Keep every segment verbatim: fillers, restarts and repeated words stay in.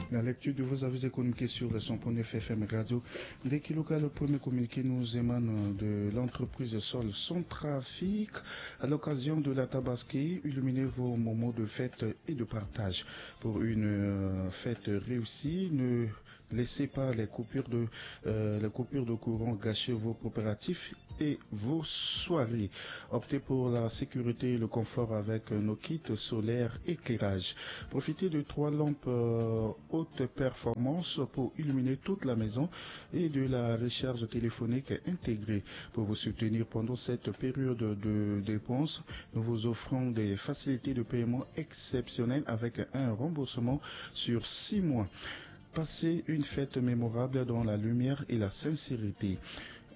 La lecture de vos avis économiques sur le cent point neuf F M Radio. Dès qu'il le premier communiqué nous émane de l'entreprise Sol Centrafrique à l'occasion de la Tabaski. Illuminez vos moments de fête et de partage. Pour une euh, fête réussie, ne laissez pas les coupures de, euh, les coupures de courant gâcher vos préparatifs et vos soirées. Optez pour la sécurité et le confort avec nos kits solaires éclairage. Profitez de trois lampes euh, haute performance pour illuminer toute la maison et de la recharge téléphonique intégrée. Pour vous soutenir pendant cette période de dépenses, nous vous offrons des facilités de paiement exceptionnelles avec un remboursement sur six mois. Passez une fête mémorable dans la lumière et la sincérité.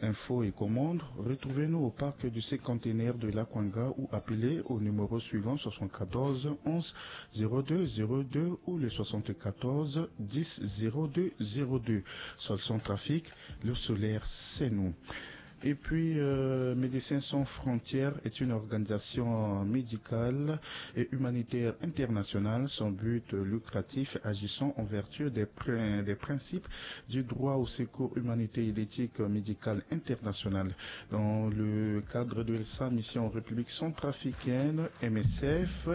Infos et commandes, retrouvez-nous au parc du cinquantenaire de l'Akwanga ou appelez au numéro suivant soixante-quatorze onze zéro deux zéro deux ou le soixante-quatorze dix zéro deux zéro deux. Sol Centrafrique, le solaire, c'est nous. Et puis, euh, Médecins sans frontières est une organisation médicale et humanitaire internationale sans but lucratif, agissant en vertu des, prin- des principes du droit au secours humanitaire et d'éthique médicale internationale. Dans le cadre de sa mission en République centrafricaine, M S F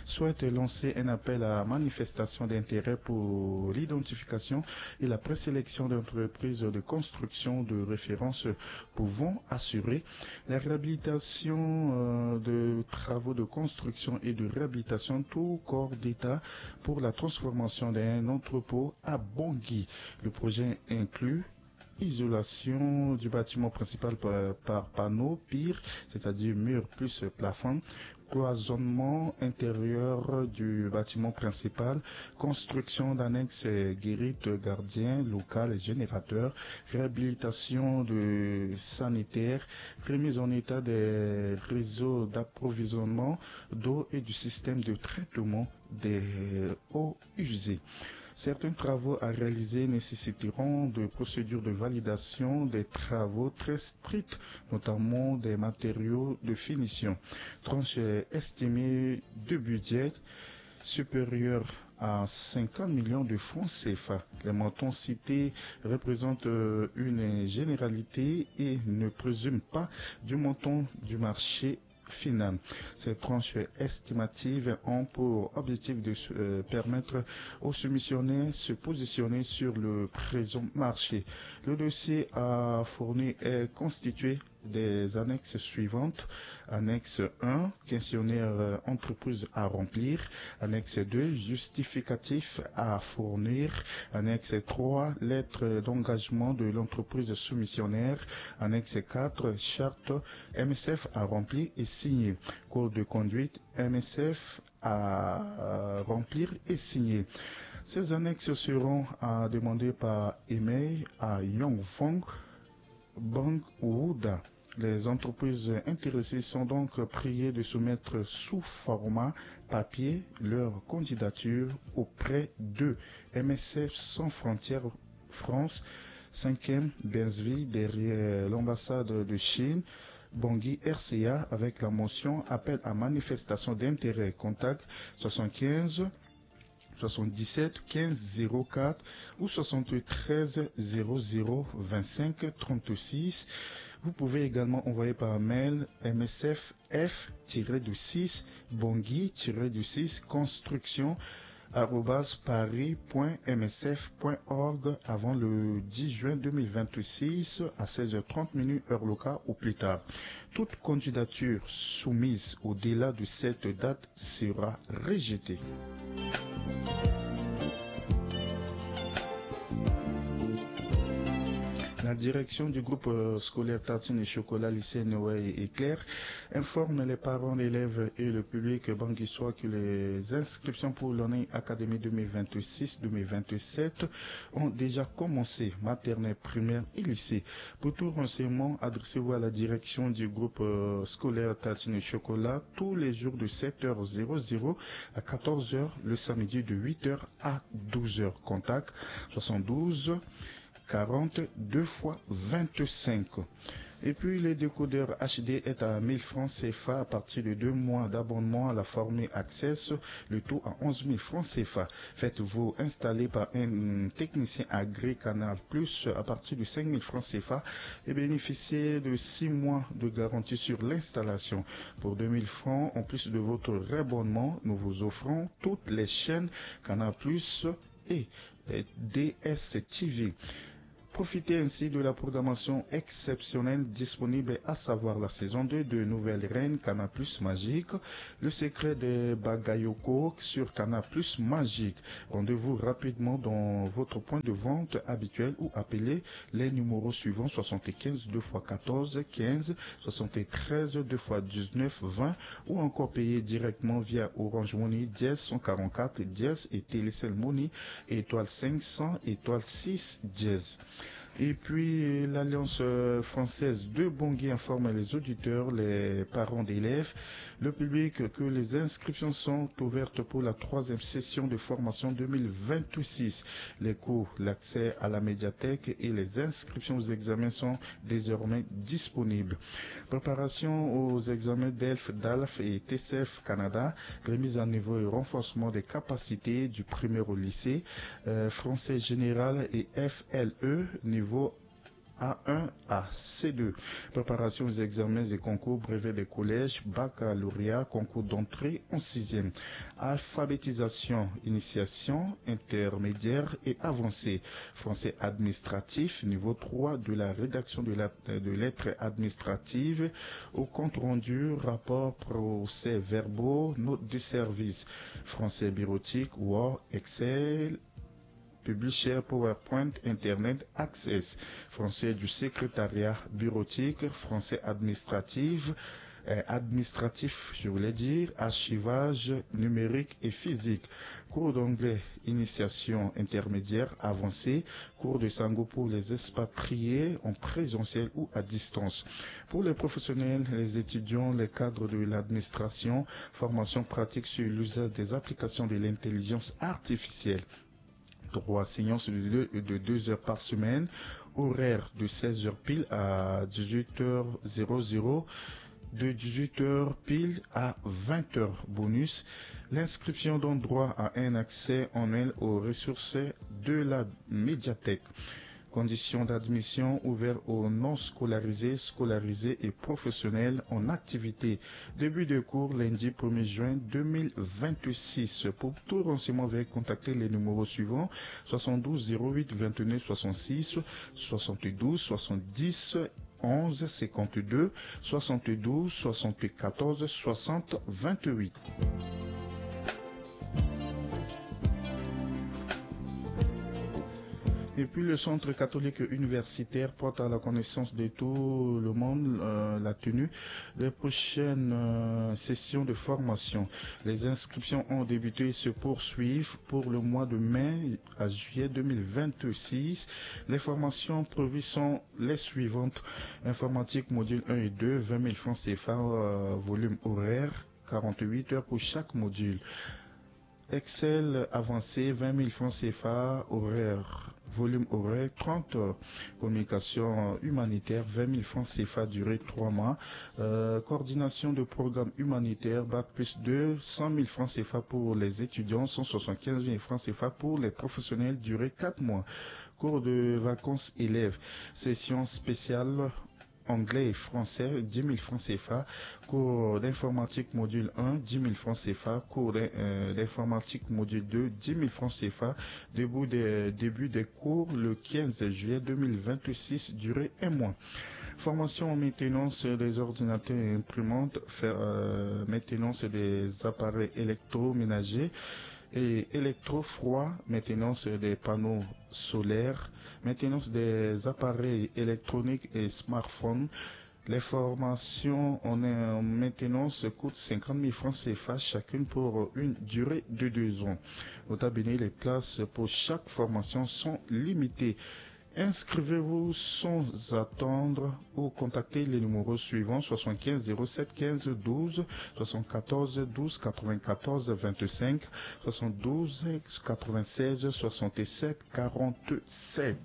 souhaite lancer un appel à manifestation d'intérêt pour l'identification et la présélection d'entreprises de construction de référence pouvant assurer la réhabilitation euh, de travaux de construction et de réhabilitation tout corps d'État pour la transformation d'un entrepôt à Bangui. Le projet inclut isolation du bâtiment principal par, par panneau pire, c'est-à-dire mur plus plafond, cloisonnement intérieur du bâtiment principal, construction d'annexes guérite, gardien, local, générateur, réhabilitation de sanitaire, remise en état des réseaux d'approvisionnement d'eau et du système de traitement des eaux usées. Certains travaux à réaliser nécessiteront de procédures de validation des travaux très strictes, notamment des matériaux de finition. Tranche estimée de budget supérieure à cinquante millions de francs C F A. Les montants cités représentent euh, une généralité et ne présument pas du montant du marché final. Ces tranches estimatives ont pour objectif de euh, permettre aux soumissionnaires de se positionner sur le présent marché. Le dossier à fournir est constitué des annexes suivantes. Annexe un, questionnaire euh, entreprise à remplir. Annexe deux, justificatif à fournir. Annexe trois, lettre d'engagement de l'entreprise soumissionnaire. Annexe quatre, charte M S F à remplir et signer. Code de conduite M S F à euh, remplir et signer. Ces annexes seront euh, demandées par email à Yongfong Bangwuda. Les entreprises intéressées sont donc priées de soumettre sous format papier leur candidature auprès de M S F Sans Frontières France, cinquième Bensville derrière l'ambassade de Chine, Bangui R C A, avec la mention appel à manifestation d'intérêt. Contact soixante-quinze soixante-dix-sept quinze zéro quatre ou soixante-treize zéro zéro vingt-cinq trente-six. Vous pouvez également envoyer par mail M S F F tiret du six Bangui tiret du six construction arobase paris point M S F point org avant le dix juin deux mille vingt-six à seize heures trente minutes heure locale ou plus tard. Toute candidature soumise au-delà de cette date sera rejetée. La direction du groupe euh, scolaire Tartine et Chocolat lycée Noé et Éclair informe les parents d'élèves et le public banguissois que les inscriptions pour l'année académique deux mille vingt-six deux mille vingt-sept ont déjà commencé, maternelle, primaire et lycée. Pour tout renseignement, adressez-vous à la direction du groupe euh, scolaire Tartine et Chocolat tous les jours de sept heures zéro zéro à quatorze heures, le samedi de huit heures à douze heures. Contact soixante-douze quarante-deux fois vingt-cinq. Et puis, le décodeur H D est à mille francs C F A à partir de deux mois d'abonnement à la formule Access, le tout à onze mille francs C F A. Faites-vous installer par un technicien agréé Canal Plus à partir de cinq mille francs C F A et bénéficiez de six mois de garantie sur l'installation. Pour deux mille francs, en plus de votre réabonnement, nous vous offrons toutes les chaînes Canal Plus et, et D S T V. Profitez ainsi de la programmation exceptionnelle disponible, à savoir la saison deux de Nouvelle Reine, Canal Plus Magique, Le Secret des Bagayoko sur Canal Plus Magique. Rendez-vous rapidement dans votre point de vente habituel ou appelez les numéros suivants: soixante-quinze deux fois quatorze quinze, soixante-treize deux fois dix-neuf vingt, ou encore payez directement via Orange Money dièse cent quarante-quatre dièse et Télécell Money étoile cinq cents étoile six dièse. Et puis, l'Alliance, euh, française de Bangui informe les auditeurs, les parents d'élèves, le public que les inscriptions sont ouvertes pour la troisième session de formation deux mille vingt-six. Les cours, l'accès à la médiathèque et les inscriptions aux examens sont désormais disponibles. Préparation aux examens DELF, DALF et T C F Canada, remise à niveau et renforcement des capacités du primaire au lycée, euh, français général et F L E niveau A un à C deux. Préparation aux examens et concours brevet des collèges, baccalauréat, concours d'entrée en sixième. Alphabétisation, initiation, intermédiaire et avancée. Français administratif, niveau trois, de la rédaction de la, de lettres administratives au compte rendu, rapport, procès-verbaux, notes de service. Français bureautique, Word, Excel, Publisher, PowerPoint, Internet Access. Français du secrétariat bureautique, français administratif, euh, administratif, je voulais dire, archivage numérique et physique. Cours d'anglais, initiation intermédiaire avancée. Cours de Sango pour les expatriés en présentiel ou à distance. Pour les professionnels, les étudiants, les cadres de l'administration, formation pratique sur l'usage des applications de l'intelligence artificielle. Trois séances de deux, de deux heures par semaine, horaire de seize heures pile à dix-huit heures zéro zéro, de dix-huit heures pile à vingt heures bonus. L'inscription donne droit à un accès annuel aux ressources de la médiathèque. Conditions d'admission: ouvert aux non scolarisés, scolarisés et professionnels en activité. Début de cours lundi premier juin deux mille vingt-six. Pour tout renseignement, veuillez contacter les numéros suivants: soixante-douze zéro huit vingt-neuf soixante-six, soixante-douze soixante-dix onze cinquante-deux, soixante-douze soixante-quatorze soixante vingt-huit. Et puis le Centre catholique universitaire porte à la connaissance de tout le monde, euh, la tenue des prochaines, euh, sessions de formation. Les inscriptions ont débuté et se poursuivent pour le mois de mai à juillet deux mille vingt-six. Les formations prévues sont les suivantes. Informatique, module un et deux, vingt mille francs C F A, euh, volume horaire, quarante-huit heures pour chaque module. Excel avancé, vingt mille francs C F A, horaire, volume horaire, trente heures. Communication humanitaire, vingt mille francs C F A, durée trois mois. Euh, coordination de programme humanitaire, bac plus deux, cent mille francs C F A pour les étudiants, cent soixante-quinze mille francs C F A pour les professionnels, durée quatre mois. Cours de vacances élèves, session spéciale anglais et français, dix mille francs C F A. Cours d'informatique module un, dix mille francs C F A. Cours d'in-, euh, d'informatique module deux, dix mille francs C F A. Début des, début des cours le quinze juillet deux mille vingt-six, durée un mois. Formation en maintenance des ordinateurs et imprimantes, faire, euh, maintenance des appareils électroménagers et électrofroids, maintenance des panneaux solaires, maintenance des appareils électroniques et smartphones. Les formations en, euh, maintenance coûtent cinquante mille francs C F A chacune pour une durée de deux ans. Nota bene, les places pour chaque formation sont limitées. Inscrivez-vous sans attendre ou contactez les numéros suivants: soixante-quinze zéro sept quinze douze, soixante-quatorze douze quatre-vingt-quatorze vingt-cinq, soixante-douze quatre-vingt-seize soixante-sept quarante-sept.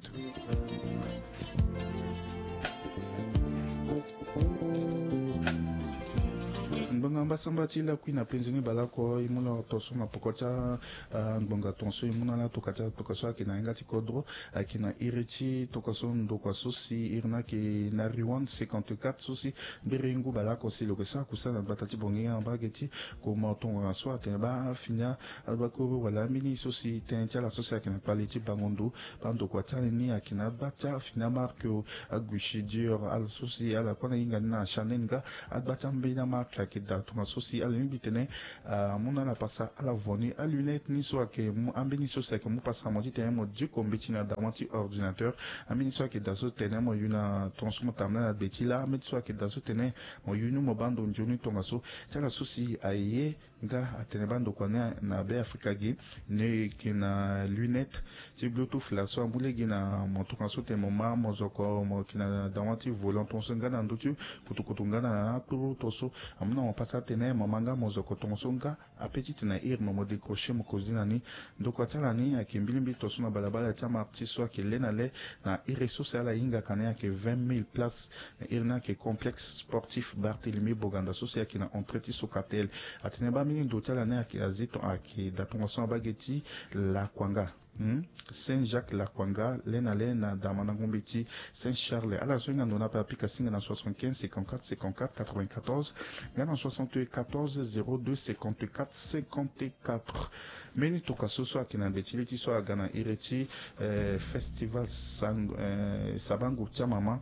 Mbasamba ti lakui na penze ni baleoko, e mu na tongaso na poko ti angbonga tongaso, e mu na ala tokua ti ala tokua so ayeke na yanga ti kodro, ayeke na iri ti tokua so ndokua so si iri ni ayeke na Riwan cinquante-quatre so si mbiri ngu baleoko si lo yeke sara kusala na gbata ti Bongi nga na mbage ti Komo. Tongana so atene baa fini abakuru wala ambeni so si tënë ti ala so si ayeke na kpale ti bango ndo, bandokua ti ala ni ayeke na agba ti afini amarque, aguichi dur, ala so si ala kue na hinga ni na Chanel nga, agba ti ambeni amarque ayeke daa tongaso si ala lingbi tene amu na ala pasa ala vo ni. Alunette ni so ayeke mu ambeni so si ayeke mu pasa mo titene mo diko mbeti na dawa ti ordinateur. Ambeni so ayeke daa so tene mo yu na tongaso mo tambula na be ti lâ. Ambeni so ayeke daa so tene mo yu ni mo baa ndo nzoni tongaso ti ala so si aye nga atene bandokua ni na Be Afrika gi, ni yeke na lunette ti Bluetooth laso amu lege na mo tongaso tene mo ma mozoko mo yeke na dawa ti volant tongaso nga na ndö ti kutukutu nga na akpuru tongaso amu na mo pasa atene mo ma nga mozoko tongaso nga ape titene iri mo mo décrocher mo kozi na ni. Ndokua ti ala ni ayeke mbilimbili tongaso na balabala ti amarti so ayeke le na le na iri so si ala hingaka ni ayeke vingt mille place. Na iri ni ayeke complexe sportif Barthélemy Boganda so si ayeke na entrée ti Socatel. Atene baa mbeni ndo ti ala ni ayeke azi ton ayeke daa tongaso na mbage ti Lakuanga. Hmm? Saint Jacques Lakuanga le na le na damandango mbeti Saint Charles. Ala so hinga ndo ni ape apika singa na soixante-quinze cinquante-quatre cinquante-quatre quatre-vingt-quatorze nga na soixante-quatorze zéro deux cinquante-quatre cinquante-quatre. Mbeni tokua so so ayeke na gbe ti li ti so aga na iri ti eh, festival sang, eh, sabango ti amama.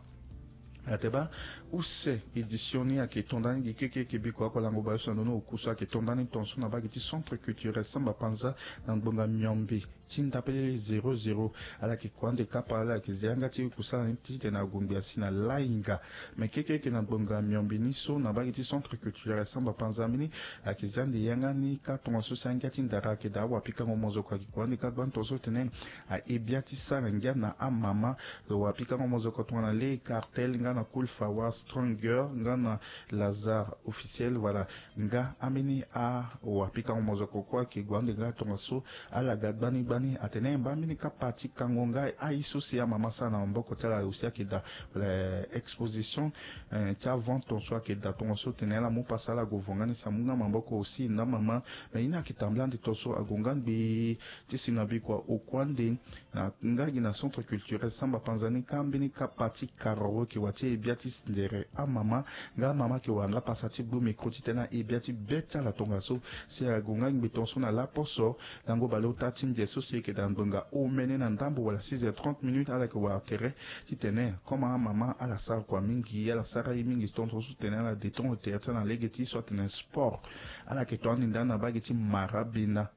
Atene baa use édition ni ayeke to nda ni gi keke yeke biko ako lango bayo so na ndo ni oku so ayeke to nda ni tongaso na mbage ti centre culturel Samba Panza na ngbonga miombe ti ndapelele zéro zéro. Ala yeke kua ande kapa ala yeke zi yanga ti kusala ni titene ague ngbi asi na lahinga. Me keke yeke na ngbonga miombe ni so na mbage ti centre culturel Samba Panza mbeni ayeke zi ande yanga ni kâ tongaso si angia ti ndara ayeke daa awapikango mozoko ayeke kua ande kâ gbani tongaso tene aye bia ti sara ngia na amama. Lo wapikango mozoko tongana le Cartel nga na Cool Fawa Stronger nga na Lazare Officiel, voilà. Nga ambeni awapikango mozoko kue ayeke gue ande nga tongaso ala ga gbani gbani. Atene baa mbeni kapa ti kango nga aye so si amama asara na maboko ti ala aussi ayeke daa, eh, exposition, eh, ti avente tongaso ayeke daa tongaso tene ala mu pasa ala gue vo nga ni si amu nga maboko aussi na mama. Me ye ni ayeke tambula ande tongaso ague nga ngbii ti si na bikua oku ande na nga gi na centre culturel Samba Panza ni kâ mbeni kapa ti karoro yeke wara ti e bia ti sindere amama. Nga amama yeke wara nga pasa ti gbu micro titene aye bia ti be ti ala tongaso si ague nga ngbii tongaso na laposo. Lango baleota ti nze so si e yeke daa ngbonga omene na ndambo wala six heures trente minutes ala yeke wara tere titene comme amama ala sara kua mingi ala sara ye mingi tongaso tene ala détendre tere ti ala na lege ti so atene sport. Ala yeke to ande ndani na mbage ti marabina.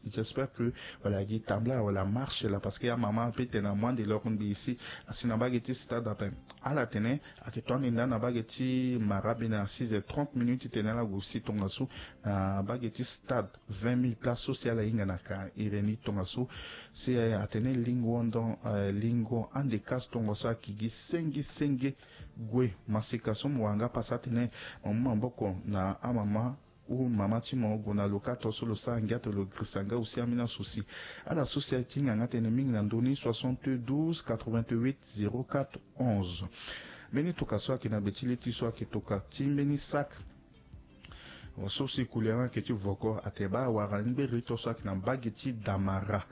J'espère que wala gi tambula wala marche la parce que amama ape tene amu ande loro ngbii si asi na mbage ti stade ape. Ala tene ayeke to ande ndani na mbage ti marabina na six heures trente minutes titene ala gue si tongaso na mbage ti stade vingt mille place so si ala hinga na ka iri ni tongaso. Si atene lingo ndo, eh, lingo ande kasi tongaso ayeke gi senge senge. Gue masika so mo wara nga pasa atene mo mu maboko na amama ou mama ti mo gue na lo kâ tongaso lo sara ngia tene lo girisa nga aussi ambeni asouci. Ala so si aye ti hinga nga tënë mingi na ndö ni soixante-douze quatre-vingt-huit zéro quatre onze. Mbeni tokua so ayeke na gbe ti li ti so ayeke tokua ti mbeni sac so si couleur ni ayeke ti voko atene baa awara ni ngberi to so ayeke na mbage ti damara.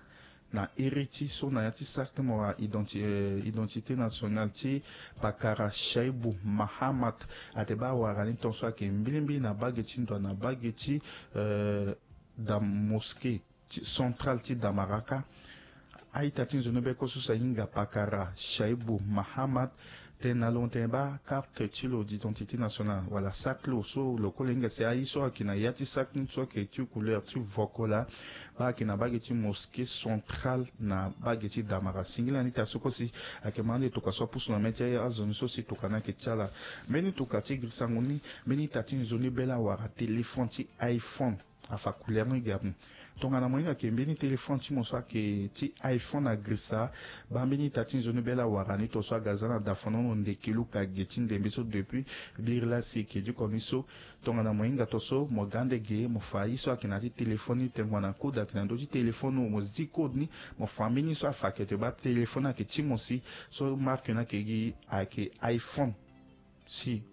Na iri ti so na ya ti sac ti mo wara identi, eh, identité nationale ti pakara Shaibu Mahamat. Atene baa awara ni tongaso ayeke mbilimbili na mbage ti ndo na mbage ti, eh, da mosquée ti centrale ti damaraka. A-ita ti nzoni beko so si ahinga pakara Shaibu Mahamat tene na lo tene baa carte ti lo d'identité nationale wala sac ti lo so lo kue lo hinga si aye so ayeke na ya ti sac ni so ayeke ti couleur ti voko laa. Baa ayeke na mbage ti mosquée centrale na mbage ti damara singila ni ita so kue si ayeke ma ande tokua so apusu na mê ti azo ni so si tokua ni ayeke ti ala. Mbeni tokua ti girisango ni mbeni ita ti nzoni bela wara téléphone ti iPhone. Afa couleur ni gi ape. Tongana mo hinga yeke mbeni téléphone ti mo so ayeke ti iPhone agirisa, baa mbeni ita ti nzoni bela wara ni to so aga za na dafono ndeke luka ge ti ndembe so depuis biri laa si eke diko ni so. Tongana mo hinga to so mo ga ande ge mo fa ye so ayeke na ya ti téléphone ni tengua na code ayeke na ndö ti téléphone ni mo zi code ni. Mo fa mbeni so afa ayeke te baa téléphone ni ayeke ti mo si so marque ni ayeke gi ayeke iPhone. Si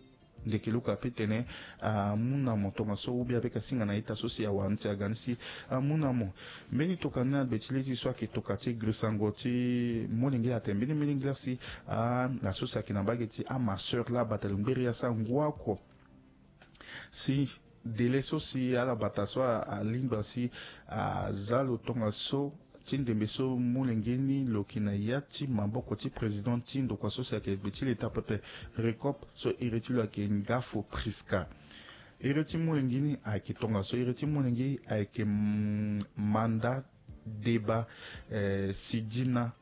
Ndeke luka pe tene amu na mo tongaso ou bien ape ka singa na ita so si awara ni si aga ni si amu na mo. Mbeni toka ni na gbe ti lezi so ayeke toka ti grisango ti molenge atene mbeni mbeni ngila si a na so si ayeke na mbage ti amasseur laa bata lingberia sa ngu oko. Si dele so si ala bata so alingba si aza lo tongaso ti ndembe so molenge ni lo yeke na ya ti maboko ti président ti ndokua so si ayeke gbe ti leta pepe, Recope, so iri ti lo ayeke Ngafo Prisca. Iri ti molenge ni ayeke tongaso, iri ti molenge ayeke Manda Deba Sidina